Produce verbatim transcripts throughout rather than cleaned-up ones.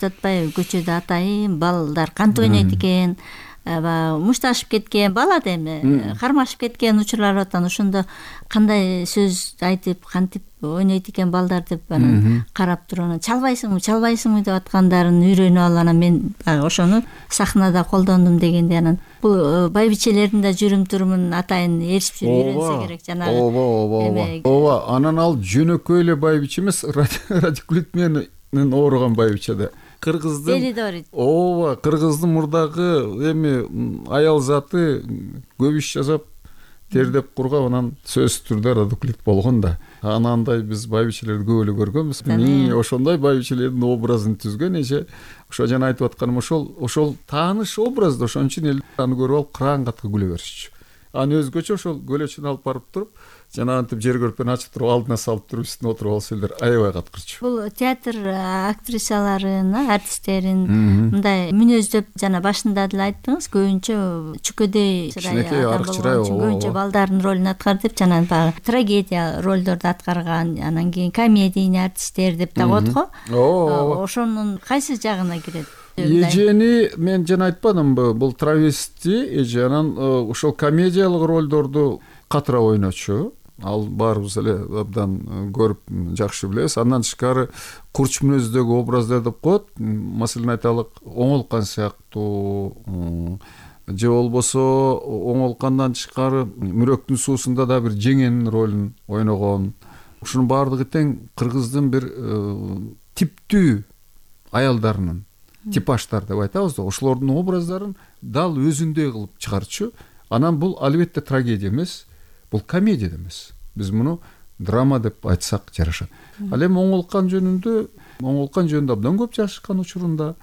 айтып атпайбы, көчөдө атайын балдар кантип ойнойт экен, аба мушташып кеткен бала да эми кармашып кеткен учурлар бар атан, ошондо кандай сөз айтып кантип ойнойт экен балдар деп анан карап туруп анан чалбайсыңбы чалбайсыңбы деп аткандарын үйрөнүп алып анан мен ошону сахнада колдондум дегенде анан бул байбичелердин да жүрүм турумун атайын ээрчип жүрүп үйрөнсө керек жанагы. Ооба ооба ооба ооба анан ал жөнөкөй эле байбиче эмес, радикулит менен ооруган байбиче да. Кыргыздын Делидорит. Ооба, кыргыздын мурдагы эми аял заты көп иш жасап тердеп кургап анан сөзсүз түрдө радикулит болгон да. Анандай биз байбичелерди көп эле көргөнбүз. Мени ошондой байбичелердин образын түзгөн эже. Ошо жана айтып атканым ошол ошол тааныш образды ошон үчүн эл аны көрүп алып кыраан катка күлө беришчү. Аны өзгөчө ошол көлөчүн алып барып туруп жанагынтип жер көрпени ачып туруп алдына салып туруп үстүнө отуруп алса элдер аябай каткырчу. Бул театр актрисаларын, артисттерин мындай мүнөздөп жана башында деле айттыңыз, көбүнчө чүкөдөй чырай адам болгон үчүн көбүнчө балдардын ролун аткарды деп, жана баягы трагедия ролдорду аткарган, анан кийин комедийный артисттер деп да коет го. Ошонун кайсы жагына кирет? Эжени мен жана айтпадымбы, бул травести эже, анан ошол комедиялык ролдорду катыраак ойночу. Ал баарыбыз эле абдан көрүп жакшы билебиз. Андан тышкары курч мүнөздөгү образдар деп коет. Маселен айталык, оңолкан сыяктуу, же болбосо оңолкандан тышкары Мүрөктүн суусунда да бир жеңенин ролун ойногон. Ушунун баардыгы тең кыргыздын бир типтүү аялдарынын, типаждар деп айтабыз да, ошолордун образдарын дал өзүндөй кылып чыгарчу. Анан бул албетте трагедия эмес, бул комедия эмес. Биз муну драма деп айтсак жарашат. Ал эми оңолкан жөнүндө, оңолкан жөнүндө абдан көп жашашкан учурунда.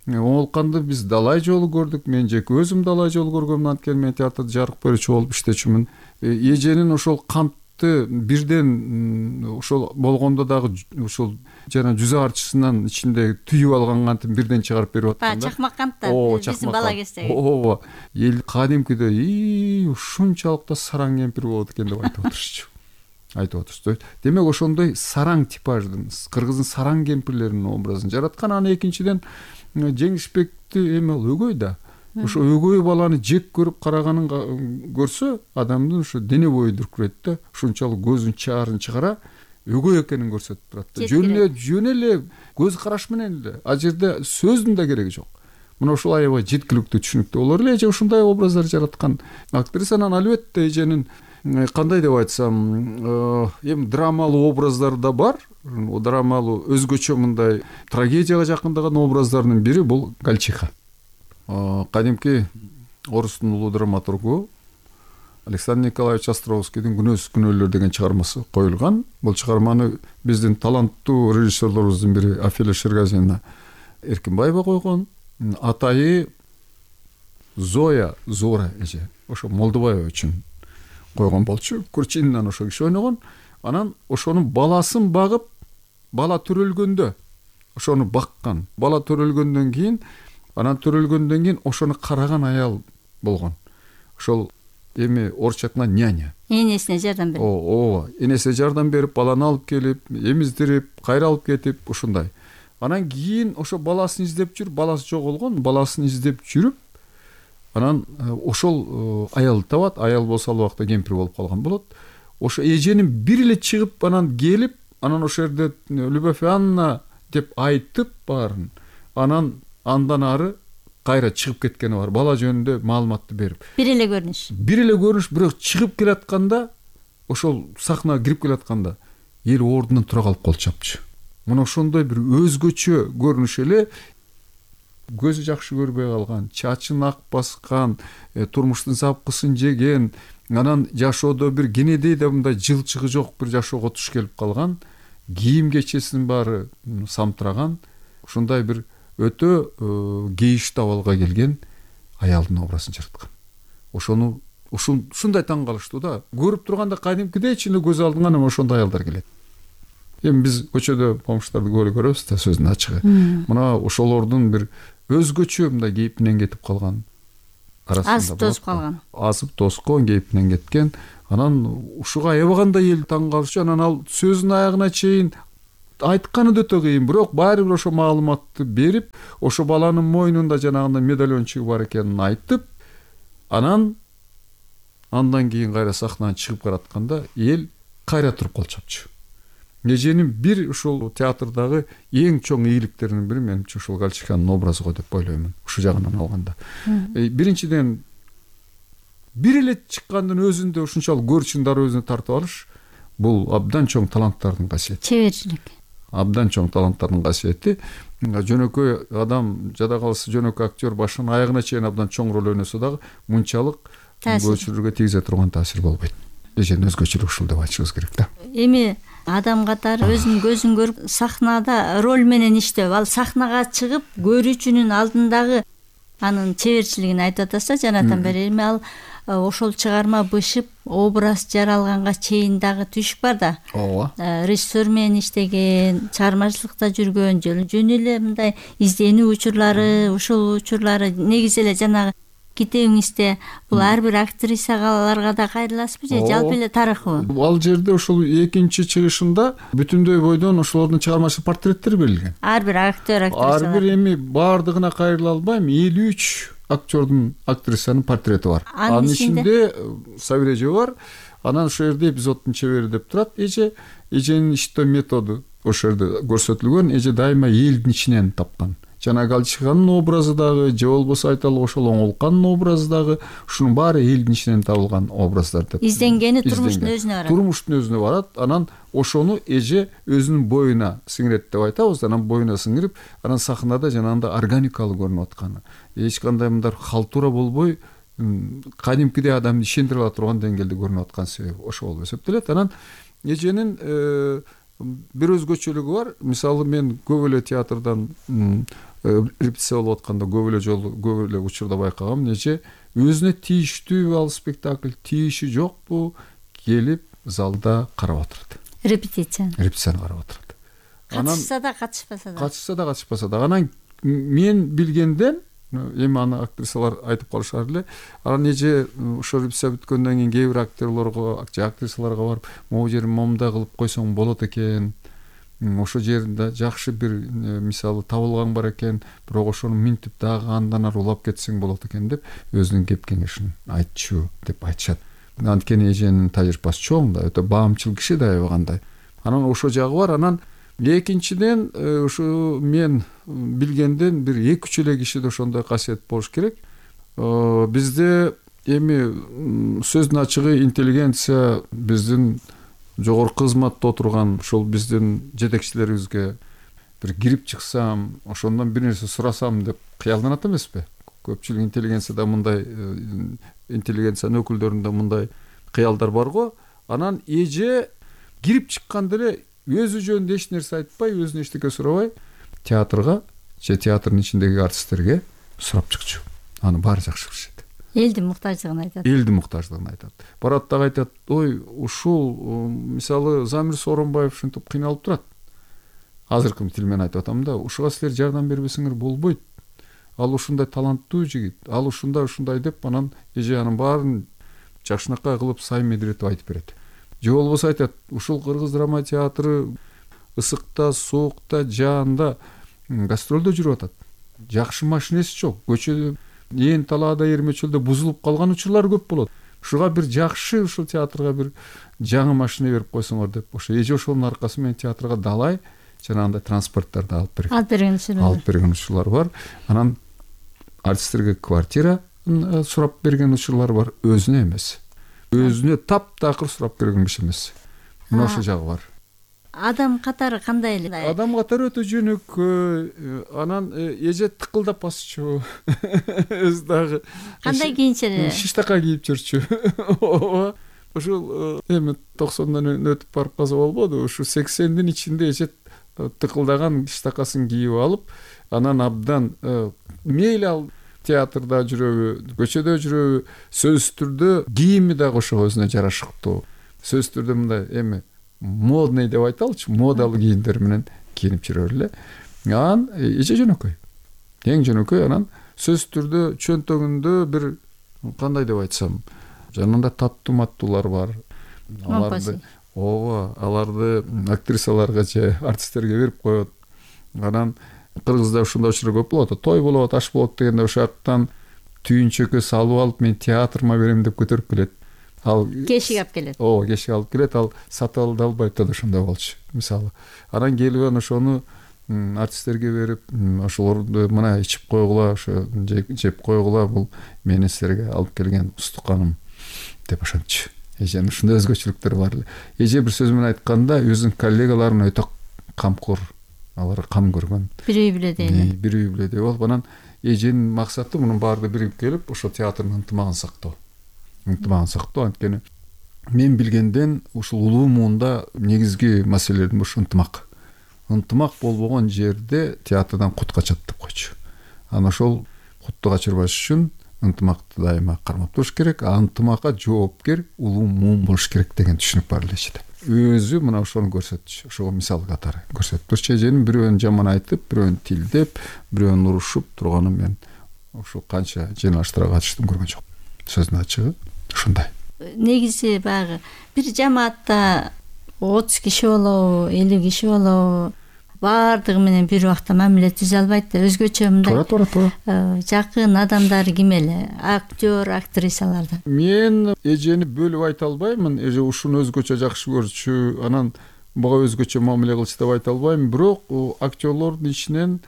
Оңолканды биз далай жолу көрдүк. Мен жеке өзүм далай жолу көргөм, анткени мен театрда жарык берүүчү болуп иштечүмүн. Эженин ошол кантты бирден ошол болгондо дагы ошол жана жүз арчысынан ичинде түйүп алган кантын бирден чыгарып берип атканда. Чакмак канттар биздин бала кездеги. Ооба. Эл кадимкидей ии ушунчалык да сараң кемпир болот экен деп айтып отурчу. Айтып отурчу. Демек ошондой сараң типаждын, кыргыздын сараң кемпирлеринин образын жараткан. Анан экинчиден Жеңишбекти эми ал өгөй да. Ошо өгөй баланы жек көрүп караганын көрсө, адамдын ошо дене бою дүркүрөйт да. Ушунчалык көзүн чаарын чыгара өгөй экенин көрсөтүп турат да. Жөн эле жөн эле көз караш менен эле. А жерде сөздүн да кереги жок. Мына ошол аябай жеткиликтүү, түшүнүктүү. Олар эле эже ушундай образдар жараткан. Актрисанын албетте эженин кандай деп айтсам, эми драмалуу образдар да бар. Драмалуу өзгөчө мындай трагедияга жакындаган образдардын бири бул Гальчиха. Кадимки орустун улуу драматургу Александр Николаевич Островскийдин Күнөөсүз күнөөлөр деген чыгармасы коюлган. Бул чыгарманы биздин таланттуу режиссерлорубуздун бири Афиля Шергазина Эркинбаева койгон. Атайы Зоя Зора эже, ошо Молдобаева үчүн койгон болчу. Курчининан ошо киши ойногон. Анан ошонун баласын багып, бала төрөлгөндө ошону баккан. Бала төрөлгөндөн кийин, анан төрөлгөндөн кийин ошону караган аял болгон. Ошол эми орусча айтканда няня. Энесине жардам берип. Ооба, энесине жардам берип, баланы алып келип, эмиздирип, кайра алып кетип, ушундай. Анан кийин ошо баласын издеп жүрүп, баласы жоголгон, баласын издеп жүрүп, анан ошол аялды табат. Аял болсо ал убакта кемпир болуп калган болот. Ошо эженин бир эле чыгып, анан келип, анан ошол жерде Любовь Анна деп айтып баарын. Анан андан ары кайра чыгып кеткени бар. Бала жөнүндө маалыматты берип. Бир эле көрүнүш. Бир эле көрүнүш, бирок чыгып келатканда, ошол сахнага кирип келатканда эл ордунан тура калып кол чапчу. Мына ошондой бир өзгөчө көрүнүш эле. Көзү жакшы көрбөй калган, чачын ак баскан, турмуштун запкысын жеген, анан жашоодо бир кенедей да мындай жылчыгы жок бир жашоого туш келип калган, кийим кечесинин баары самтыраган, ушундай бир өтө кейиштүү абалга келген аялдын образын жараткан. Ошону ушундай таң калыштуу да. Көрүп турганда кадимкидей ичинде көз алдыңа эми ошондой аялдар келет. Эми биз көчөдө помуштарды көп эле көрөбүз да, сөздүн ачыгы. Мына ошолордун бир өзгөчө мындай кейпинен кетип калган. Азып тосуп калган. Азып тоскон, кейпинен кеткен. Анан ушуга аябагандай эл таң калышы. Анан ал сөзүнүн аягына чейин айтканы да өтө кыйын, бирок баары бир ошо маалыматты берип, ошо баланын мойнунда жанагындай медальончугу бар экенин айтып, анан андан кийин кайра сахнадан чыгып баратканда эл кайра туруп калчапчу. Эженин бир ушул театрдагы эң чоң ийгиликтеринин бири менимче ушул Галчиханын образы го деп ойлоймун. Ушул жагынан алганда. Биринчиден бир эле чыккандын өзүндө ушунчалык көрчүн дароо өзүнө тартып алыш, бул абдан чоң таланттардын касиети. Чеберчилик. Абдан чоң таланттардын касиети. Жөнөкөй адам, жада калса жөнөкөй актер башынан аягына чейин абдан чоң роль ойносо дагы мынчалык көрүүчүлөргө тийгизе турган таасир болбойт. Эженин өзгөчөлүгү ушул деп айтышыбыз керек да. Эми адам катары өзүнүн көзүн көрүп сахнада роль менен иштеп, ал сахнага чыгып көрүүчүнүн алдындагы анын чеберчилигин айтып атасыз жанатан бери. Эми ал ошол чыгарма бышып, образ жаралганга чейин дагы түшүк бар да. Ооба. Режиссер менен иштеген, чыгармачылыкта жүргөн, жөн эле мындай изденүү учурлары, ушул учурлары негизи эле жанагы китебиңизде бул ар бир актрисаларга да кайрыласызбы же жалпы эле тарыхыбы? Ал жерде ушул экинчи чыгышында бүтүндөй бойдон ошолордун чыгармачылык портреттери берилген. Ар бир актер, актрисалар. Ар бир эми баардыгына кайрыла албайм, элүү үч актердун, актрисанын портрети бар. Анын ичинде Сабир эже бар. Анан ошол жерде эпизоддун чебери деп турат эже, эженин иштөө методу ошол жерде көрсөтүлгөн. Эже дайыма элдин ичинен тапкан. Жана Галчиханын образы дагы, же болбосо айталы ошол Оңолкандын образы дагы ушунун баары элдин ичинен табылган образдар деп. Изденгени турмуштун өзүнө барат. Турмуштун өзүнө барат. Анан ошону эже өзүнүн боюна сиңирет деп айтабыз. Анан боюна сиңирип, анан сахнада жанагындай органикалуу көрүнүп атканы. Эч кандай мындай халтура болбой, кадимкидей адамды ишендире ала турган деңгээлде көрүнүп аткан себеби ошол болуп эсептелет. Анан эженин бир өзгөчөлүгү бар. Мисалы мен көп эле театрдан репетиция болуп атканда көп эле жолу, көп эле учурда байкагам, эже өзүнө тийиштүүбү ал спектакль, тийиши жокпу, келип залда карап отурат. Репетиция. Репетицияны карап отурат. Катышса да, катышпаса да. Катышса да, катышпаса да. Анан мен билгенден, эми аны актрисалар айтып калышар эле. Анан эже ошо репетиция бүткөндөн кийин кээ бир актерлорго, актрисаларга барып, могу жерин момундай кылып койсоң болот экен. Ошо жеринде жакшы бир мисалы табылган бар экен, бирок ошону минтип дагы андан ары улап кетсең болот экен деп өзүнүн кеп кеңешин айтчу деп айтышат. Анткени эженин тажрыйбасы чоң да, өтө баамчыл киши да аябагандай. Анан ошо жагы бар. Анан экинчиден ушу мен билгенден бир эки үч эле кишиде ошондой касиет болуш керек. Бизде эми сөздүн ачыгы интеллигенция биздин жогорку кызматта отурган ушул биздин жетекчилерибизге бир кирип чыксам, ошондон бир нерсе сурасам деп кыялданат эмеспи? Көпчүлүк интеллигенцияда мындай, интеллигенциянын өкүлдөрүндө мындай кыялдар бар го. Анан эже кирип чыкканда эле өзү жөнүндө эч нерсе айтпай, өзүнө эчтеке сурабай, театрга же театрдын ичиндеги артисттерге сурап чыкчу. Аны баары жакшы билишет. Элдин муктаждыгын айтат. Элдин муктаждыгын айтат. Барат дагы айтат, ой, ушул мисалы Замир Сооронбаев ушинтип кыйналып турат. Азыркы тил менен айтып атам да, ушуга силер жардам бербесеңер болбойт. Ал ушундай таланттуу жигит, ал ушундай ушундай деп, анан эже анын баарын жакшынакай кылып сай медиретип айтып берет. Же болбосо айтат, ушул кыргыз драма театры ысыкта, соокта, жаанда гастролдо жүрүп атат. Жакшы машинеси жок. Көчөдө ээн талаада эрмечөлдө бузулуп калган учурлар көп болот. Ушуга бир жакшы ушул театрга бир жаңы машина берип койсоңор деп, ошо эже ошонун аркасы менен театрга далай жанагындай транспорттарды алып берген. Алып берген учурлар. Алып берген учурлар бар. Анан артисттерге квартира сурап берген учурлар бар, өзүнө эмес. Өзүнө таптакыр сурап берген киши эмес. Мына ошо жагы бар. Адам катары кандай эле? Адам катары өтө жөнөкөй. Анан эже тыкылдап басчу. Өз дагы кандай кийинчеле? Шиштака кийип жүрчү. Ооба. Ушул эми токсондон өтүп барып калса болбоду. Ушу сексендин ичинде эже тыкылдаган шиштакасын кийип алып, анан абдан мейли ал театрда жүрөбү, көчөдө жүрөбү, сөзсүз түрдө кийими дагы ошого өзүнө жарашыктуу. Сөзсүз түрдө мындай эми модный деп айталычы, модалуу кийимдер менен кийинип жүрөр эле. Анан эже жөнөкөй. Эң жөнөкөй. Анан сөзсүз түрдө чөнтөгүндө бир кандай деп айтсам, жанында таттуу маттуулар бар. Аларды ооба, аларды актрисаларга же артисттерге берип коет. Анан Кыргызда ушундай учур көп болот. Той болот, аш болот дегенде ошол жактан түйүнчөккө салып алып, мен театрыма берем деп көтөрүп келет. Ал кешиге алып келет. Ооба, кешиге алып келет. Ал сатып алды албайт да ошондой болчу. Мисалы, анан келип анан ошону артисттерге берип, ошолорду мына ичип койгула, ошо жеп койгула, бул менин силерге алып келген устуканым деп ошентчү. Эженин ушундай өзгөчөлүктөрү бар эле. Эже бир сөз менен айтканда, өзүнүн коллегаларына өтө камкор, алар кам көргөн. Бир үй бүлөдөй эле. Бир үй бүлөдөй болуп, анан эженин максаты мунун баарды бирип келип, ошо театрдын ынтымагын сактоо. Ынтымагын сактоо, анткени мен билгенден ушул улуу муунда негизги маселелердин башы ынтымак. Ынтымак болбогон жерде театрдан кут качат деп койчу. Анан ошол кутту качырбаш үчүн ынтымакты дайыма кармап туруш керек, а ынтымакка жоопкер улуу муун болуш керек деген түшүнүк бар эле эчеде. Өзү мына ошону көрсөтчү, ошого мисал катары көрсөтүп турчу. Эженин бирөөнүн жаман айтып, бирөөнүн тилдеп, бирөөнүн урушуп турганын мен ошо канча жыйналыштарга катыштым, көргөн жокмун. Сөздүн ачыгы ушундай. Негизи баягы бир жамаатта отуз киши болобу, элүү киши болобу, баардыгы менен бир убакта мамиле түзө албайт да. Өзгөчө мындай Туура, туура, туура. жакын адамдар ким эле? Актер, актрисалардан. Мен эжени бөлүп айта албаймын. Эже ушуну өзгөчө жакшы көрчү, анан буга өзгөчө мамиле кылчу деп айта албайм. Бирок актерлордун ичинен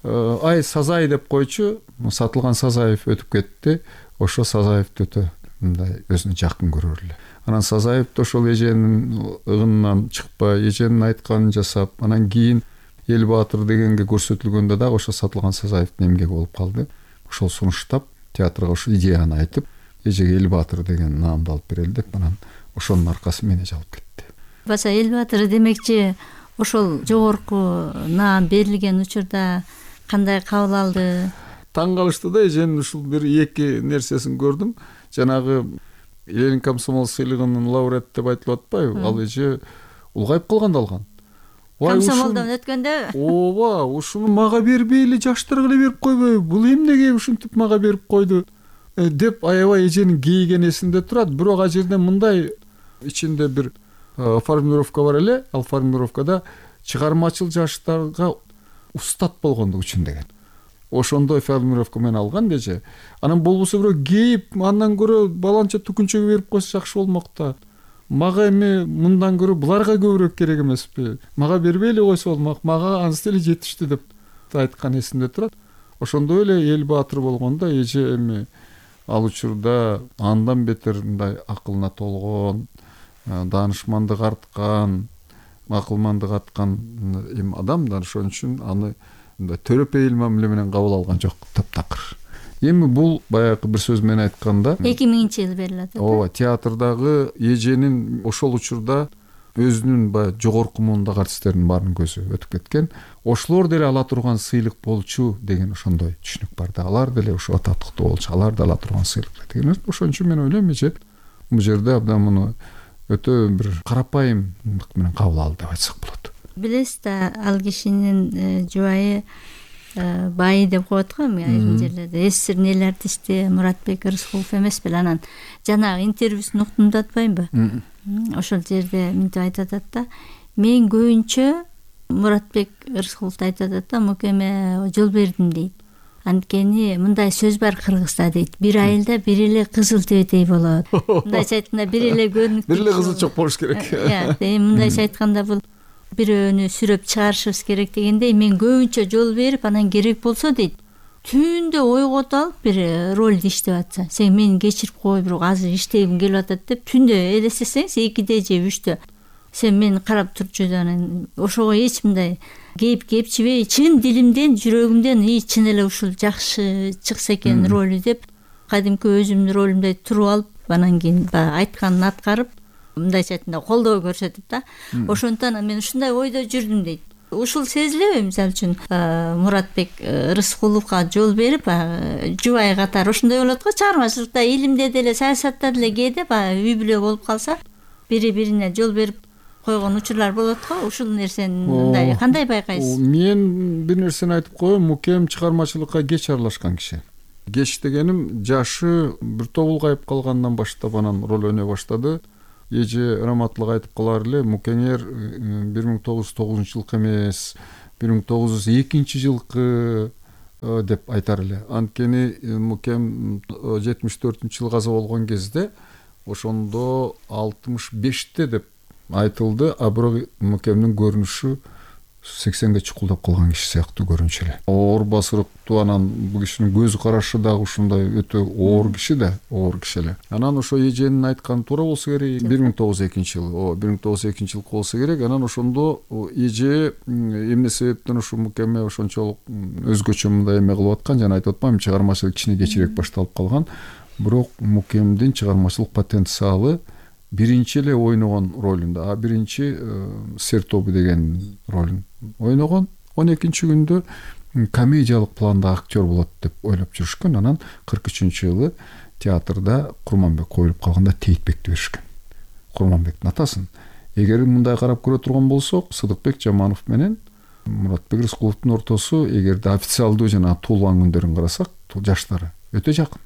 ай Сазай деп койчу, Сатылган Сазаев өтүп кетти. Ошо Сазаевди өтө мындай өзүнө жакын көрөр эле. Анан Сазаев да ошол эженин ыгынынан чыкпай, эженин айтканын жасап, анан кийин Эл Баатыр дегенге көрсөтүлгөндө дагы ошо Сатылган Сазаевдин эмгеги болуп калды. Ошол сунуштап, театрга ошол идеяны айтып, эжеге Эл Баатыр деген наамды алып берели деп, анан ошонун аркасы менен алып кетти. Баса Эл Баатыр демекчи, ошол жогорку наам берилген учурда кандай кабыл алды? Таң калышты да, эженин ушул бир эки нерсесин көрдүм. Жанагы Ленин комсомол сыйлыгынын лауреаты деп айтылып атпайбы? Ал эже улгайып калганда алган. Комсомолдон өткөндө? Ооба, ушуну мага бербейли, жаштарга эле берип койбойбу? Бул эмнеге ушинтип мага берип койду? деп аябай эженин кейиген эсимде турат. Бирок ал жерде мындай ичинде бир формулировка бар эле. Ал формулировкада чыгармачыл жаштарга устат болгондук үчүн деген. Ошондой формулировка менен алган эже. Анан болбосо бирөө кейип, андан көрө баланча түкүнчөгө берип койсо жакшы болмок да. Мага эми мындан көрө буларга көбүрөөк керек эмеспи? Мага бербей эле койсо болмок, мага анысы эле жетиштүү деп айткан эсимде турат. Ошондой эле Эл Баатыр болгондо эже эми ал учурда андан бетер мындай акылына толгон, даанышмандык арткан, акылмандык арткан эми адам да, ошон үчүн аны мындай төрөпейил мамиле менен кабыл алган жок, таптакыр. Эми бул баягы бир сөз менен айтканда эки миңинчи жылы берилет. Ооба, театрдагы эженин ошол учурда өзүнүн баягы жогорку муундагы артисттердин баарынын көзү өтүп кеткен. Ошолор деле ала турган сыйлык болчу деген ошондой түшүнүк бар да. Алар деле ошо татыктуу болчу, алар да ала турган сыйлык деген. Ошон үчүн мен ойлойм, эже бул жерде абдан муну өтө бир карапайымдык менен кабыл алды деп айтсак болот. Билесиз да, ал кишинин жубайы бай деп коет го, айрым жерлерде. СССРдин эл артисти Муратбек Рыскулов эмес беле? Анан жанагы интервьюсун уктум да атпаймынбы? Ошол жерде мынтип айтып атат да, мен көбүнчө Муратбек Рыскуловду айтып атат да, мукеме жол бердим дейт. Анткени мындай сөз бар Кыргызда дейт, бир айылда бир эле кызыл тебетей болот. Мындайча айтканда бир эле көрүнүктүү. Бир эле кызылчок болуш керек. Эми мындайча айтканда бул бирөөнү сүрөп чыгарышыбыз керек дегендей, мен көбүнчө жол берип, анан керек болсо дейт, түндө ойготуп алып бир ролду иштеп атса, сен мени кечирип кой, бирок азыр иштегим келип атат деп түндө элестесеңиз экиде же үчтө сен мени карап турчу, анан ошого эч мындай кейип кепчибей, чын дилимден, жүрөгүмден и чын эле ушул жакшы чыкса экен ролу деп кадимки өзүмдүн ролумдай туруп алып, анан кийин баягы айтканын аткарып, мындайча айтканда колдоо көрсөтүп да. Ошондон мен ушундай ойдо жүрдүм дейт. Ушул сезилеби, мисалы үчүн Муратбек Рыскуловго жол берип, жубай катары ошондой болот го, чыгармачылыкта, илимде деле, саясатта деле кээде баягы үй бүлө болуп калса, бири бирине жол берип койгон учурлар болот го. Ушул нерсени мындай кандай байкайсыз? Мен бир нерсени айтып коеюн, мукем чыгармачылыкка кеч аралашкан киши. Кеч дегеним, жашы бир тобулгайып калгандан баштап анан роль ойной баштады. эже раматтылык айтып калар эле, мукеңер бир миң тогуз жүз тогузунчу жылкы эмес, бир миң тогуз жүз экинчи жылкы деп айтар эле. Анткени мукем жетимиш төртүнчү жылы каза болгон кезде ошондо алтымыш беште деп айтылды, а бирок мукемдин көрүнүшү сексенге чукулдап калган киши сыяктуу көрүнчү эле. Оор басырыктуу, анан бул кишинин көз карашы дагы ушундай өтө оор киши да, оор киши эле. Анан ошо эженин айтканы туура болсо керек, бир миң тогуз жүз экинчи жылы, о бир миң тогуз жүз экинчи жылкы болсо керек. Анан ошондо эже эмне себептен ушу мукеме ошончолук өзгөчө мындай эме кылып аткан, жана айтып атпаймынбы, чыгармачылык кичине кечирээк башталып калган. Бирок мукемдин чыгармачылык потенциалы биринчи эле ойногон ролунда, а биринчи Сер тобу деген ролун ойногон. он экинчи күндө комедиялык планда актер болот деп ойлоп жүрүшкөн. Анан кырк үчүнчү жылы театрда Курманбек коюлуп калганда Тейтбекти беришкен. Курманбектин атасын. Эгер мындай карап көрө турган болсок, Сыдыкбек Жаманов менен Муратбек Рыскуловдун ортосу, эгерде официалдуу жана туулган күндөрүн карасак, жаштары өтө жакын.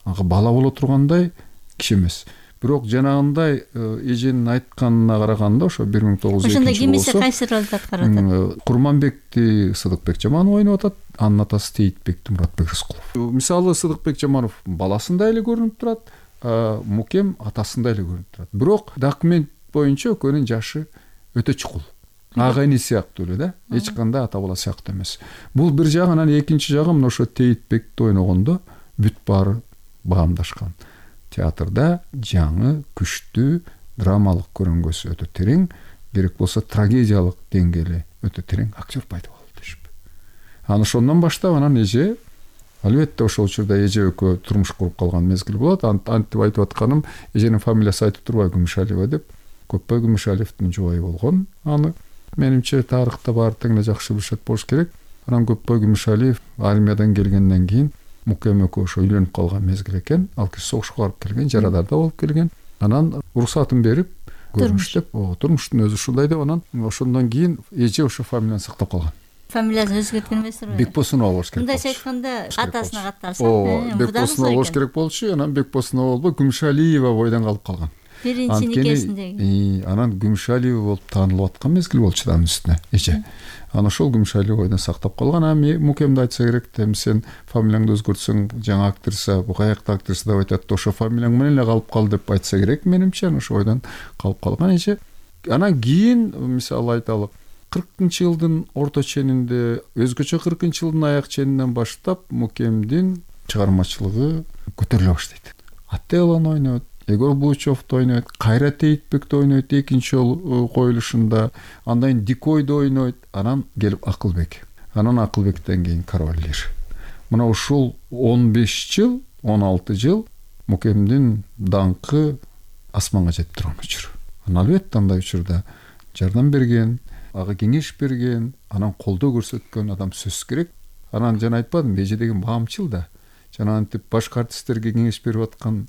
Ага бала боло тургандай киши эмес. Бирок жанагындай эженин айтканына караганда ошо бир миң тогуз жүз экинчи ошондо кимиси кайсы ролду аткарып атат? Курманбекти Сыдыкбек Жаманов ойноп атат, анын атасы Тейтбекти Муратбек Рыскулов. Мисалы Сыдыкбек Жаманов баласындай эле көрүнүп турат, мукем атасындай эле көрүнүп турат. Бирок документ боюнча экөөнүн жашы өтө чукул. Ага эне сыяктуу эле да, эч кандай ата бала сыяктуу эмес. Бул бир жагы. Анан экинчи жагы мына ошо Тейтбекти ойногондо бүт баары баамдашкан. Театрда жаңы, күчтүү, драмалык көрүнгөсү өтө терең, керек болсо трагедиялык деңгээли өтө терең актер пайда болду дешип. Анан ошондон баштап анан эже, албетте ошол учурда эже экөө турмуш куруп калган мезгил болот. Антип айтып атканым, эженин фамилиясы айтып турбайбы, Күмүшалиева деп. Көпбай Күмүшалиевдин жубайы болгон. Аны менимче тарыхта баары тең эле жакшы билишет болуш керек. Анан Көпбай Күмүшалиев армиядан келгенден кийин мукем экөө ошо үйлөнүп калган мезгил экен. Ал киши согушка барып келген, жарадарда болуп келген. Анан уруксатын берип көрүнүштөп, турмуштун өзү ушундай деп, анан ошондон кийин эже ошо фамилияны сактап калган. Фамилиясын өзгөрткөн эмеспи? Бекбосунова болуш керек. Мындайча айтканда атасына катталса, о, Бекбосунова болуш керек болчу. Анан Бекбосунова болбой Күмүшалиева бойдон калып калган. Биринчи никесиндеги. Анан Күмүшалиева болуп таанылып аткан мезгил болчу да анын үстүнө эже. Анан ошол Күмүшалиева бойдон сактап калган. Ами мукемди айтса керек, эми сен фамилияңды өзгөртсөң жаңы актриса, бу каякта актриса деп айтат, ошо фамилияң менен эле калып кал деп айтса керек менимче. Анан ошо бойдон калып калган эже. Анан кийин мисалы айталы, кыркынчы жылдын орто ченинде, өзгөчө кыркынчы жылдын аяк ченинен баштап мукемдин чыгармачылыгы көтөрүлө баштайт. Ателлону ойнойт, Егор Булычевду ойнойт, Кайра Тейтбекти ойнойт экинчи жолу коюлушунда, андан кийин Дикойду ойнойт, анан келип Акылбек. Анан Акылбектен кийин Король Лир. Мына ушул он беш жыл, он алты жыл мукемдин даңкы асманга жетип турган учур. Анан албетте андай учурда жардам берген, ага кеңеш берген, анан колдоо көрсөткөн адам сөзсүз керек. Анан жана айтпадым, эже деген баамчыл да. Жана антип башка артисттерге кеңеш берип аткан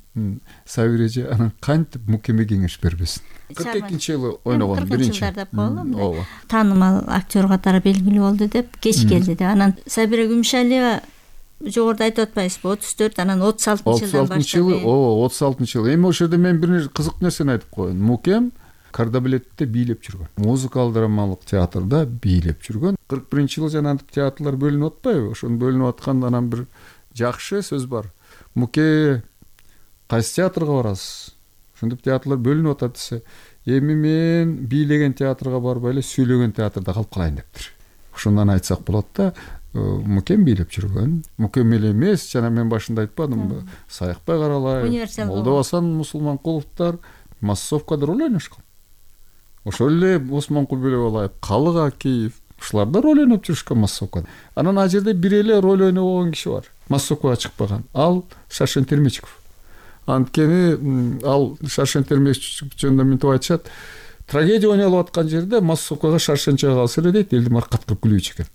Сабир эже анан кантип мукеме кеңеш бербесин. кырк экинчи жылы ойногон биринчи. Ооба. Таанымал актер катары белгилүү болду деп, кеч келди деп. Анан Сабира Күмүшалиева жогоруда айтып атпайсызбы, отуз төрт, анан отуз алтынчы жылдан баштап. Ооба, отуз алтынчы жыл. Эми ошол жерде мен бир кызык нерсени айтып коеюн. Мукем Кардабилетте бийлеп жүргөн. Музыкалык драмалык театрда бийлеп жүргөн. кырк биринчи жылы жана театрлар бөлүнүп атпайбы? Ошону бөлүнүп атканда анан бир жакшы сөз бар. Муке кайсы театрга барасыз? Ошондоп театрлар бөлүнүп атат десе, эми мен бийлеген театрга барбай эле сүйлөгөн театрда калып калайын дептир. Ошондон айтсак болот да, мукем бийлеп жүргөн. Мукем эле эмес, жана мен башында айтпадымбы, Саякбай Каралаев, Молдобасан Мусулманкуловдор массовкада роль ойношкон. Ошол эле Осмонкул Бөлөбалаев, Калык Акиев, ушулар да роль ойноп жүрүшкөн массовкада. Анан ал жерде бир эле роль ойнобогон киши бар. Массовкага чыкпаган. Ал Шаршен Термечиков. Анткени ал Шаршен Термечиков жөнүндө мынтип айтышат. Трагедия ойнолуп аткан жерде массовкага Шаршен чыга калса эле дейт, элди маркат кылып күлүүчү экен.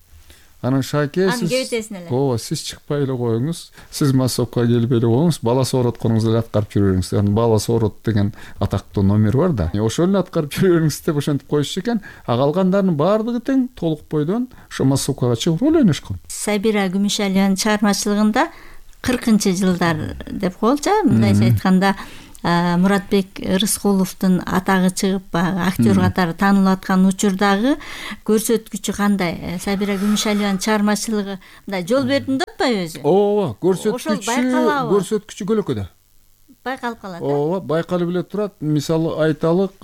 Анан Шаке, сиз ооба, сиз чыкпай эле коюңуз, сиз массовкага келип эле коюңуз, бала соорутконуңузду эле аткарып жүрө бериңиз. Анан бала соорот деген атактуу номер бар да. Ошону аткарып жүрө бериңиз деп ошентип коюшчу экен. А калгандарынын баардыгы тең толук бойдон ошо массовкага чыгып роль ойношкон. Сабира Күмүшалиеванын чыгармачылыгында кыркынчы жылдар деп коелучу, мындайча айтканда Муратбек Рыскуловдун атагы чыгып баягы актер катары таанылып аткан учурдагы көрсөткүчү кандай? Сабира Күмүшалиеванын чыгармачылыгы мындай жол бердим деп атпайбы өзү? ооба, көрсөткүчү көрсөткүчү көлөкөдө байкалып калат. ооба, байкалып эле турат. Мисалы айталык,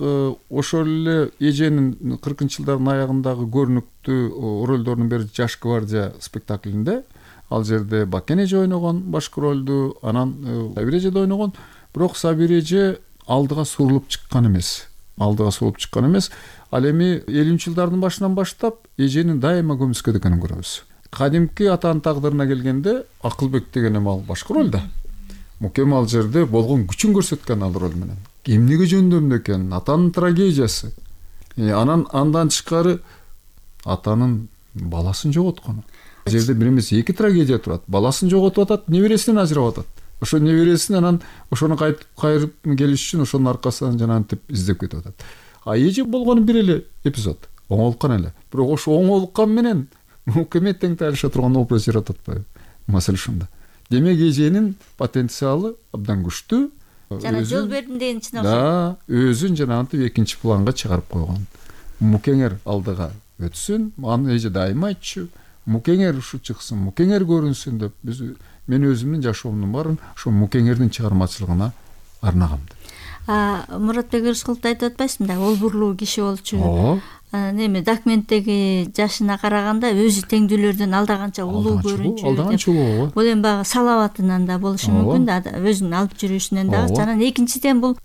ошол эле эженин кыркынчы жылдардын аягындагы көрүнүктүү ролдордун бири Жаш гвардия спектаклинде, ал жерде Бакен эже ойногон башкы ролду, анан Сабира эже да ойногон. Бирок Сабира эже алдыга сурулуп чыккан эмес. Алдыга сурулуп чыккан эмес. Ал эми элүүнчү жылдардын башынан баштап эженин дайыма көмүскөдө экенин көрөбүз. Кадимки атанын тагдырына келгенде Акылбек деген эми ал башкы ролда. Мукем ал жерде болгон күчүн көрсөткөн ал рол менен. Эмнеге жөндөмдү экен? Атанын трагедиясы. Анан андан тышкары атанын баласын жоготкону. Ал жерде бир эмес эки трагедия турат. Баласын жоготуп атат, небересинен ажырап атат. Ошо небересин анан ошону кайтып кайрып келиш үчүн ошонун аркасынан жанагынтип издеп кетип атат. А эже болгону бир эле эпизод. Оңолуккан эле. Бирок ошо оңолуккан менен Мукеме тең тайлаша турган образ жаратып атпайбы? Маселе ушунда. Демек эженин потенциалы абдан күчтүү. Жана жол бердим деген чын окшойт. Да, өзүн жанагынтип экинчи планга чыгарып койгон. Мукеңер алдыга өтсүн, аны эже дайыма айтчу. Мукеңер ушу чыксын, мукеңер көрүнсүн деп биз мен өзүмдүн жашоомдун баарын ошо мукеңердин чыгармачылыгына арнагам. А Муратбек Рыскуловду айтып атпайсыңбы да, олбурлуу киши болчу. Неме документтеги жашына караганда өзү теңдүүлөрдөн алдаганча улуу көрүнчү. Алдаганча улуу. Бул эми баягы салаватынан да болушу мүмкүн да, өзүнүн алып жүрүшүнөн дагы. Жана экинчиден бул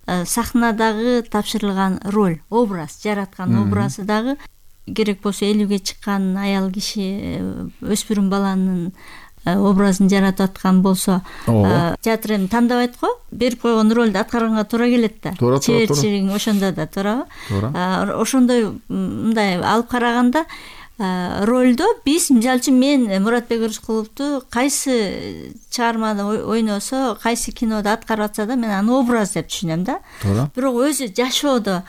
сахнадагы тапшырылган роль, образ, жараткан образы дагы керек болсо элүүгө чыккан аял киши, өспүрүм баланын образын жаратып аткан болсо, театр эми тандабайт го, берип койгон ролду аткарганга туура келет да. Чеберчилигиң ошондо да туурабы? Туура. Ошондой мындай алып караганда ролдо биз, мисалы үчүн мен Муратбек Рыскуловду кайсы чыгармада ойносо, кайсы кинодо аткарып атса да мен аны образ деп түшүнөм да. Бирок өзү жашоодо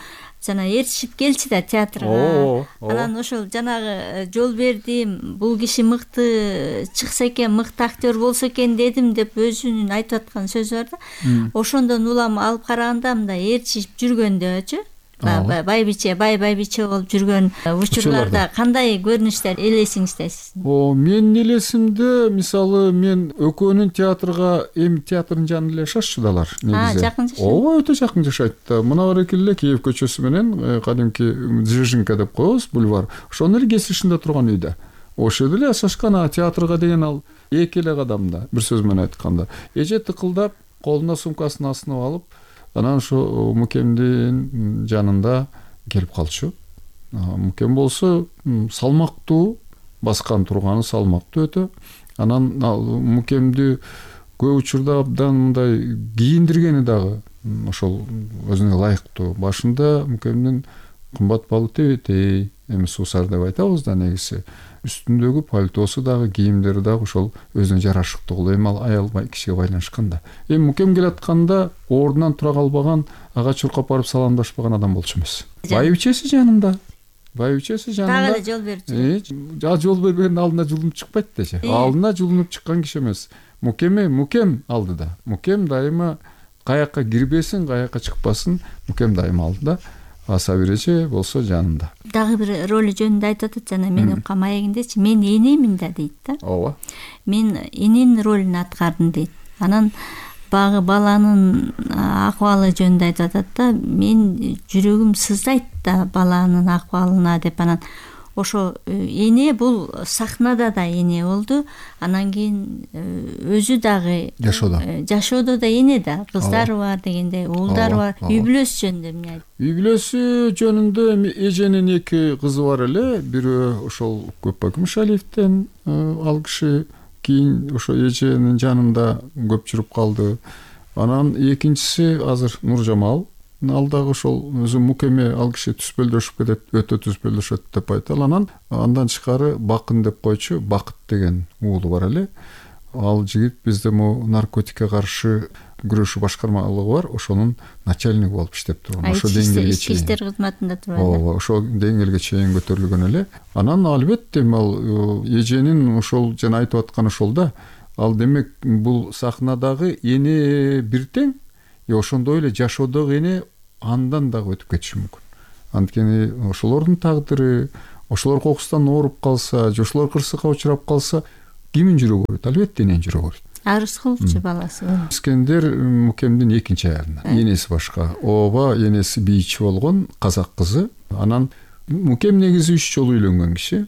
жана ээрчишип келчи да театрга. Анан ошол жанагы жол бердим, бул киши мыкты чыкса экен, мыкты актер болсо экен дедим деп өзүнүн айтып аткан сөзү бар да. Ошондон улам алып караганда мындай ээрчишип жүргөндөчү, байбиче, бай байбиче болуп жүргөн учурларда кандай көрүнүштөр элесиңиздесиз? О, менин элесимде мисалы мен экөөнүн театрга, эми театрдын жанында эле жашашчу далар негизи. А, жакын жашайт. Ооба, өтө жакын жашайт да. Мына баракеле эле Киев көчөсү менен кадимки Дзержинка деп коебуз, бульвар. Ошонун эле кесишинде турган үйдө. Ошол жерде эле жашашкан. Театрга деген ал эки эле кадамда, бир сөз менен айтканда. Эже тыкылдап, колуна сумкасын асынып алып, анан ошо Мукемдин жанында келип калчу. Мукем болсо салмактуу, баскан турганы салмактуу өтө. Анан Мукемди көп учурда абдан мындай кийиндиргени дагы ошол өзүнө ылайыктуу. Башында Мукемдин кымбат баалы тебетей, эми суусар деп айтабыз да негизи. Үстүндөгү пальтосу дагы, кийимдери дагы ошол өзүнө жарашыктуу. Эми ал аял кишиге байланышкан да. Эми Мукем келатканда ордунан тура калбаган, ага чуркап барып саламдашпаган адам болчу эмес. Байбичеси жанында. Байбичеси жанында. Дагы эле жол берчү. Жа жол бербегендин алдына жулунуп чыкпайт дечи. Алдына жулунуп чыккан киши эмес. Мукеме Мукем алдыда. Мукем дайыма каяка кирбесин, каяка чыкпасын, Мукем дайыма алдыда. А Сабира эже болсо жанында. Дагы бир ролу жөнүндө айтып атат, жана мен уккан маегиндечи, мен энемин да дейт да. Ооба. Мен эненин ролун аткардым дейт. Анан багы баланын акыбалы жөнүндө айтып атат да, мен жүрөгүм сыздайт да баланын акыбалына деп. Анан ошо эне бул сахнада да эне болду. Анан кийин өзү дагы жашоодо. Жашоодо да эне да, кыздары бар дегендей, уулдары бар. Үй бүлөсү жөнүндө эмне айтты? Үй бүлөсү жөнүндө эми эженин эки кызы бар эле. Бирөө ошол Көпбай Күмүшалиевден, ал киши кийин ошо эженин жанында көп жүрүп калды. Анан экинчиси азыр Нуржамал. Ал дагы ошол өзү Мукеме ал киши түспөлдөшүп кетет, өтө түспөлдөшөт деп айталы. Анан андан тышкары Бакын деп койчу, Бакыт деген уулу бар эле. Ал жигит бизде могу наркотикке каршы күрөшүү башкармалыгы бар, ошонун начальниги болуп иштеп турган. Ошо деңгээлге чейин. Ички иштер кызматында турат. Ооба, ошо деңгээлге чейин көтөрүлгөн эле. Анан албетте ал эженин ошол жана айтып атканы ошол да. Ал демек бул сахнадагы эне бир тең, и ошондой эле жашоодогу эне андан дагы өтүп кетиши мүмкүн. Анткени ошолордун тагдыры, ошолор кокустан ооруп калса же ошолор кырсыкка учурап калса кимдин жүрөгү ооруйт? Албетте эненин жүрөгү ооруйт. А Рыскуловчу баласы Искендер Мукемдин экинчи аялына. Энеси башка. Ооба, энеси бийчи болгон, казак кызы. Анан Мукем негизи үч жолу үйлөнгөн киши.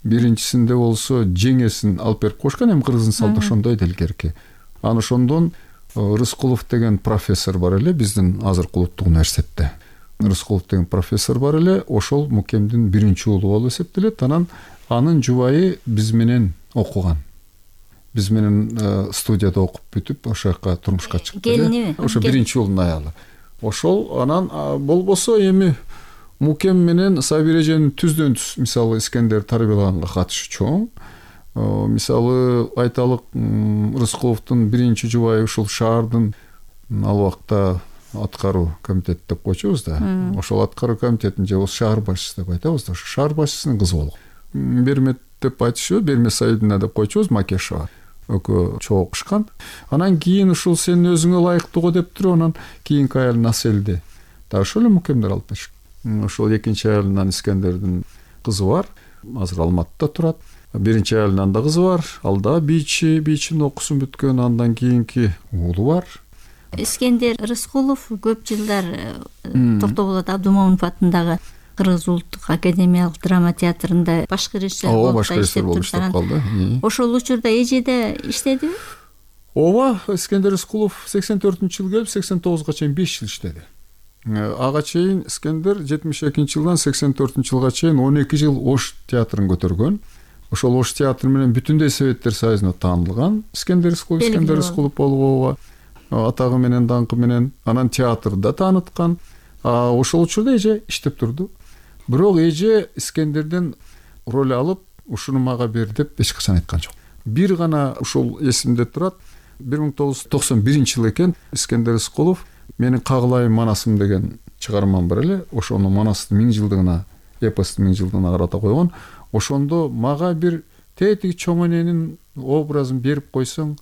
Биринчисинде болсо жеңесин алып берип койушкан, эми кыргыздын салты ошондой делгерки. Анан ошондон Рыскулов деген профессор бар эле биздин азыркы улуттук университетте. Рыскулов деген профессор бар эле, ошол Мукемдин биринчи уулу болуп эсептелет. Анан анын жубайы биз менен окуган. Биз менен студияда окуп бүтүп ошол жака турмушка чыкты. Келиниби? Ошо биринчи уулдун аялы. Ошол анан болбосо эми Мукем менен Сабир эженин түздөн түз мисалы Искендер тарбиялаганга катышы чоң. Мисалы айталык Рыскуловдун биринчи жубайы ушул шаардын ал убакта аткаруу комитет деп койчубуз да. Ошол аткаруу комитетинин же шаар башчысы деп айтабыз да. Ошо шаар башчысынын кызы болгон. Бермет деп айтышыбы, Бермет Саидовна деп койчубуз, Макешова. Экөө чогуу окушкан. Анан кийин ушул сен өзүңө ылайыктуу деп туруп, анан кийинки аялын Аселди да ошол эле Мукемдер алып беришкен. Ошол экинчи аялынан Искендердин кызы бар, азыр Алматыда турат. Биринчи аялынан да кызы бар, ал да бийчи, бийчинин окуусун бүткөн, андан кийинки уулу бар. Искендер Рыскулов көп жылдар Токтоболот Абдумомунов атындагы Кыргыз улуттук академиялык драма театрында башкы режиссер болуп иштеп калды. Ошол учурда эжеде иштедиби? Ооба, Искендер Рыскулов сексен төртүнчү жылы келип сексен тогузга чейин беш жыл иштеди. Ага чейин Искендер жетимиш экинчи жылдан сексен төртүнчү жылга чейин он эки жыл Ош театрын көтөргөн. Ошол Ош театры менен бүтүндөй Советтер Союзуна таанылган. Искендер Рыскулов, Искендер Рыскулов болуп атагы менен, даңкы менен, анан театрда тааныткан. Ошол учурда эже иштеп турду. Бирок эже Искендерден роль алып, ушуну мага бер деп эч качан айткан жок. Бир гана ушул эсимде турат. бир миң тогуз жүз токсон биринчи жыл экен, Искендер Рыскулов менин Кагылайым Манасым деген чыгармам бар эле. Ошону Манастын миң жылдыгына, эпостун миң жылдыгына карата койгон. Ошондо мага бир тетиги чоң эненин образын берип койсоң,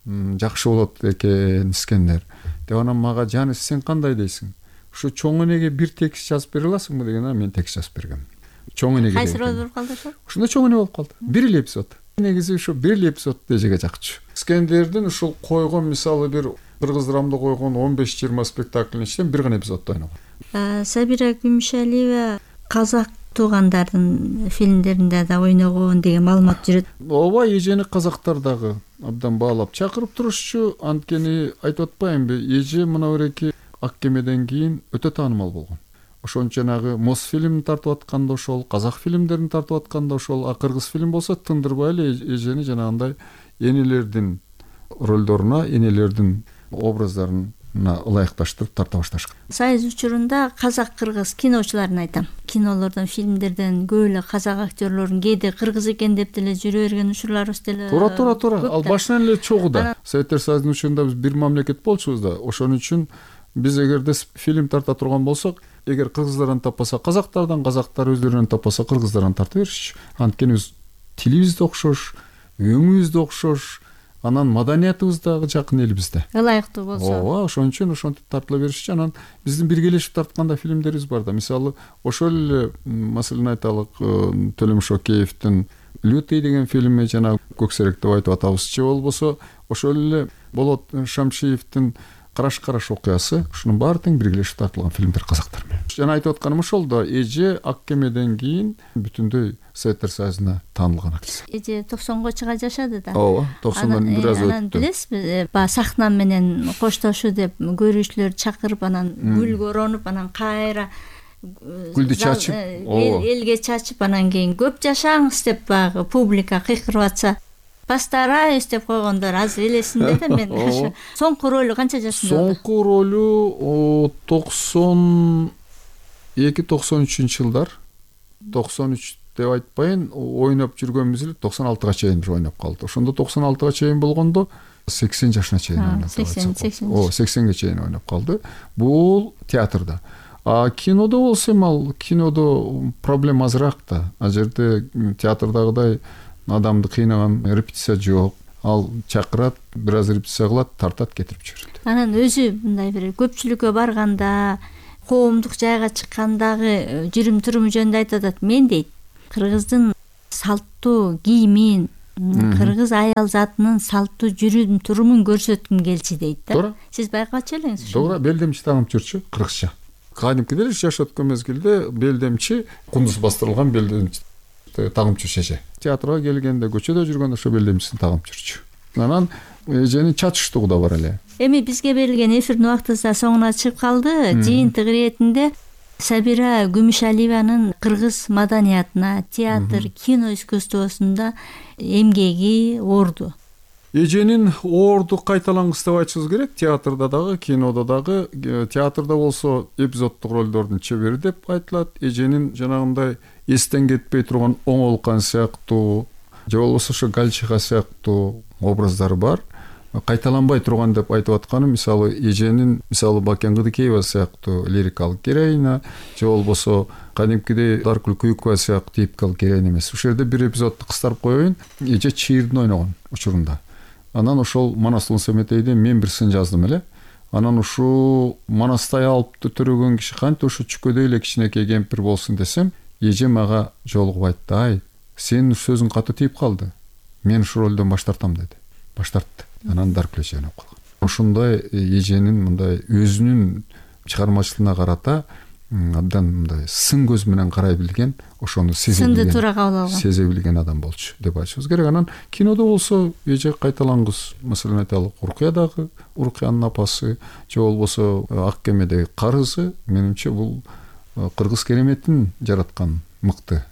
жакшы болот экен Искендер. Деп анан мага жаны сен кандай дейсиң? Ушу чоң энеге бир текст жазып бере аласыңбы дегенде мен текст жазып бергем. Чоң энеге. Кайсы роль болуп калды ошо? Ушунда чоң эне болуп калды. Бир эле эпизод. Негизи ушу бир эле эпизод эжеге жакчу. Искендердин ушул койгон мисалы бир кыргыз драмда койгон он беш жыйырма спектакльдин ичинен бир гана эпизоддо ойногон. Сабира Күмүшалиева казак туугандардын фильмдеринде да ойногон деген маалымат жүрөт. Ооба, эжени казактар дагы абдан баалап чакырып турушчу. Анткени айтып атпаймынбы, эже мына береки Ак кемеден кийин өтө таанымал болгон. Ошончо жанагы Мосфильм тартып атканда ошол, казак фильмдерин тартып атканда ошол, а кыргыз фильм болсо тындырбай эле эжени жанагындай энелердин ролдоруна, энелердин образдарына ылайыкташтырып тарта башташкан. Союз учурунда казак-кыргыз киночуларын айтам. Кинолордон, фильмдерден көп эле казак актерлорун кээде кыргыз экен деп деле жүрө берген учурларыбыз деле. Туура, туура, туура. Ал башынан эле чогуу да. Советтер Союзунун учурунда биз бир мамлекет болчубуз да. Ошон үчүн биз эгерде фильм тарта турган болсок, эгер кыргыздардан таппаса казактардан, казактар өздөрүнөн таппаса кыргыздардан тарта беришчү. Анткени биз тилибиз да окшош, өңүбүз да окшош, анан маданиятыбыз дагы жакын элибизде. Ылайыктуу болсо. Ооба, ошон үчүн ошентип тартыла беришчү. Анан биздин биргелешип тартканда фильмдерибиз бар да. Мисалы, ошол эле маселени айталык, Төлөмүш Океевдин Лютый деген фильми жана Көксерек деп айтып атабыз. Же болбосо ошол эле Болот Шамшиевдин Караш-караш окуясы, ушунун баары тең биргелешип тартылган фильмдер казактар менен. Жана айтып атканым ошол да, эже Ак кемеден кийин бүтүндөй Советтер Союзуна таанылган актриса. Эже токсонго чыга жашады да. Ооба, токсондон бир аз өттү. Анан билесизби, баягы сахна менен коштошуу деп көрүүчүлөрдү чакырып, анан гүлгө оронуп, анан кайра гүлдү чачып, элге чачып, анан кийин көп жашаңыз деп баягы публика кыйкырып атса, постараюсь деп койгондор азыр элесинде да мен. Соңку ролу канча жашында болду? Соңку ролу токсон эки токсон үчүнчү жылдар. токсон үч деп айтпайын, ойноп жүргөнбүз эле токсон алтыга чейин ойноп калды. Ошондо токсон алтыга чейин болгондо сексен жашына чейин ойноп калды. сексен сексен. О, сексенге чейин ойноп калды. Бул театрда. А кинодо болсо, ал кинодо проблема азыраак да. А жерде театрдагыдай адамды кыйнаган репетиция жок. ал чакырат, бир аз репетиция кылат, тартат, кетирип жиберет. Анан өзү мындай бир көпчүлүккө барганда, коомдук жайга чыккандагы жүрүм туруму жөнүндө айтып атат. Мен дейт, кыргыздын салттуу кийимин, кыргыз аял затынын салттуу жүрүм турумун көрсөткүм келчү дейт да. Туура. Сиз байкачу элеңиз ушуну. Туура, белдемчи тагып жүрчү, кыргызча. Кадимкидей эле жаш өткөн мезгилде белдемчи, кундуз бастырылган белдемчи тагып жүрчү эже. Театрга келгенде, көчөдө жүргөндө ошо белдемчисин тагып жүрчү. Анан эженин чачыштыгы да бар эле. Эми бизге берилген эфирдин убакыты да соңуна чыгып калды. Жыйынтык иретинде Сабира Күмүшалиеванын кыргыз маданиятына, театр, кино искусствосунда эмгеги орду. Эженин орду кайталангыс деп айтышыбыз керек. Театрда дагы, кинодо дагы. Театрда болсо эпизоддук ролдордун чебери деп айтылат. Эженин жанагындай эстен кетпей турган оңолкан сыяктуу, же болбосо ошо Гальчиха сыяктуу образдары бар. Кайталанбай турган деп айтып атканы, мисалы, эженин, мисалы, Бакен Кыдыкеева сыяктуу лирикалык героиня, же болбосо кадимкидей Даркүл Күйүкова сыяктуу типикалык героиня эмес. Ушул жерде бир эпизодду кыстарып коеюн. Эже чыйырдын ойногон учурунда. Анан ошол Манас Улун Семетейде мен бир сын жаздым эле. Анан ушул Манастай алыпты төрөгөн киши кантип ушу чүкөдөй эле кичинекей кемпир болсун десем, эже мага жолугуп айтты: "Ай, сенин сөзүң катуу тийип калды. Мен ушул ролдон баш тартам" деди. Баш тартты. Анан Даркүл эже өнөп калган. Ошондой эженин мындай өзүнүн чыгармачылыгына карата абдан мындай сын көз менен карай билген, ошону сезе билген, сынды туура кабыл алган, сезе билген адам болчу деп айтышыбыз керек. Анан кинодо болсо эже кайталангыс, маселен айталык, Уркуядагы Уркуянын апасы, же болбосо Ак кемедеги карызы, менимче бул кыргыз кереметин жараткан мыкты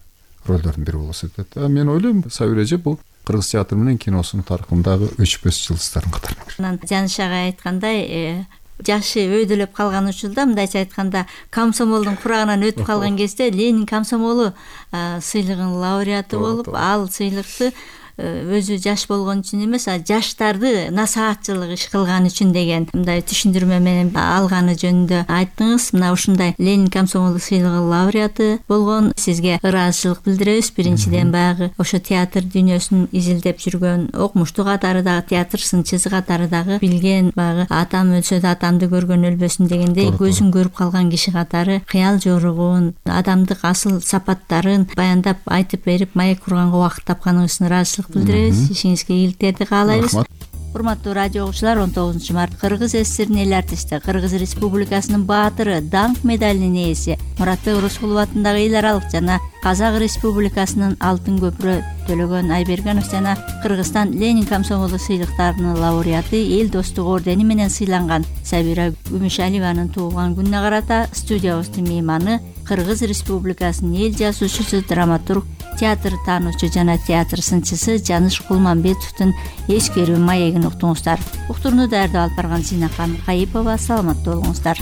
ролдордун бири болот деп. Мен ойлойм, Сабира эже бул кыргыз театр менен киносунун тарыхындагы өчпөс жылдыздардын катарына кирет. Анан Жаныш ага айткандай, жашы өйдөлөп калган учурда, мындайча айтканда, комсомолдун курагынан өтүп калган кезде Ленин комсомолу сыйлыгынын лауреаты болуп, ал сыйлыкты өзү жаш болгон үчүн эмес, а жаштарды насаатчылык иш кылган үчүн деген мындай түшүндүрмө менен алганы жөнүндө айттыңыз. Мына ушундай Ленин комсомолу сыйлыгынын лауреаты болгон. Сизге ыраазычылык билдиребиз. Биринчиден баягы ошо театр дүйнөсүн изилдеп жүргөн, окумуштуу катары дагы, театр сынчысы катары дагы билген, баягы атам өлсө да атамды көргөн өлбөсүн дегендей көзүн көрүп калган киши катары кыял жоругун, адамдык асыл сапаттарын баяндап айтып берип, маек курганга убакыт тапканыңыз үчүн ыраазычылык билдиребиз. Ишиңизге ийгиликтерди каалайбыз. Урматтуу радио угуучулар, он тогузунчу март Кыргыз СССРинин эл артисти, Кыргыз Республикасынын баатыры, даңк медалинин ээси Муратбек Рыскулов атындагы эл аралык жана Казак Республикасынын алтын көпүрө Төлөгөн Айбергенов жана Кыргызстан Ленин комсомолу сыйлыктарынын лауреаты, эл достук ордени менен сыйланган Сабира Күмүшалиеванын туулган күнүнө карата студиябыздын мейманы, Кыргыз Республикасынын эл жазуучусу, драматург, театр таануучу жана театр сынчысы Жаныш Кулманбетовдун эскерүү маегин уктуңуздар. Уктурууну даярдап алып барган Зинакан Кайыпова. Саламаттуу болуңуздар.